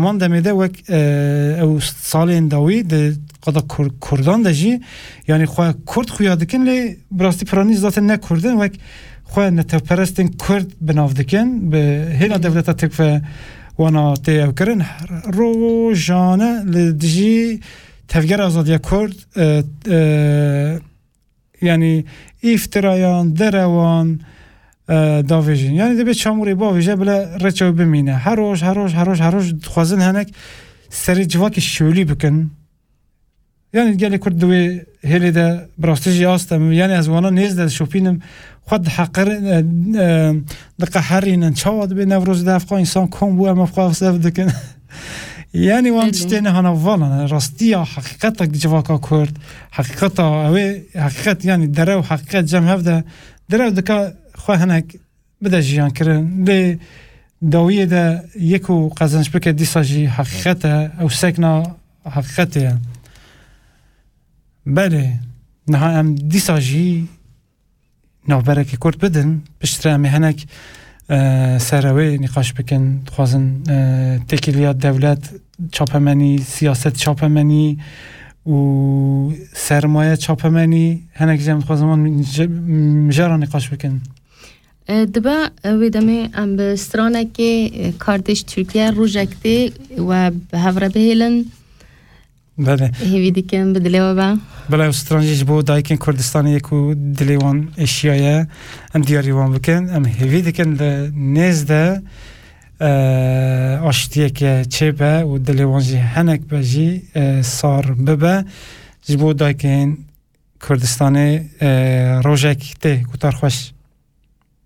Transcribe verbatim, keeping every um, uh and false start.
Heman demê de wek, e, ew salên dawî di qada Kur-, Kurdan de jî, yanî xwe Kurd xuya dikin, lê bi rastî piranî zaten ne Kurd in, wek xwe neteperestên Kurd bi nav dikin, bi hêla dewleta Tirk ve wana tê ew kirin. Rojane li dijî Tevgera Azadiya Kurd, e, e, yanî îftirayan, derewan, e, davêjin. Yanî dibê çamûrê bavêje, bila reça wê bimîne. Her roj, her roj, her roj, her roj dixwazin hinek serê civakê şolî bikin. Yanî gelê Kurd di wê hêlê de bi rastî jî asta min. Yanî ez wana nêz de dişopînim. Xwe diheqir-, e, e, diqeherînin. Çawa dibê Newrozê de ev qas însan kom bû, em ev qas ev dikin. Yanî wan Belê. tiştê ne hana vala ne. Rastiya, heqîqeta civaka Kurd, heqîqeta ew ê, heqîqet, yanî derew heqîqet cem hev de, derew dika xwe hinek bide jiyan kirin. Lê dawiyê de yek û qezenç bike, dîsa jî heqîqet e, ew sekna heqîqetê ye. Belê, niha em dîsa jî navberekî Kurd bidin, piştre em ê hinek, e, ser ew ê nîqaş bikin. Dixwazin, e, têkiliya dewlet, çapemenî, siyaset çapemenî û sermaye çapemenî, hinek jî em dixwazin wan ji-, mijara nîqaş bikin. E, dibe, e, wê demê em bi stranekê, e, Kardeş Türkiye rojek tê we bi hev re bihêlin. Belê. Hêvî dikim bi dilê we be. Belê, ew stran jî ji bo dayikên Kurdistanê ye ku dilê wan êşiyaye. Em diyarî wan bikin. Em hêvî dikin li nêz de, e, aştiyeke çêbe û dilê wan jî hinek be jî, e, sar bibe. Ji bo dayikên Kurdistanê, e, rojek tê. Guhtar xweş.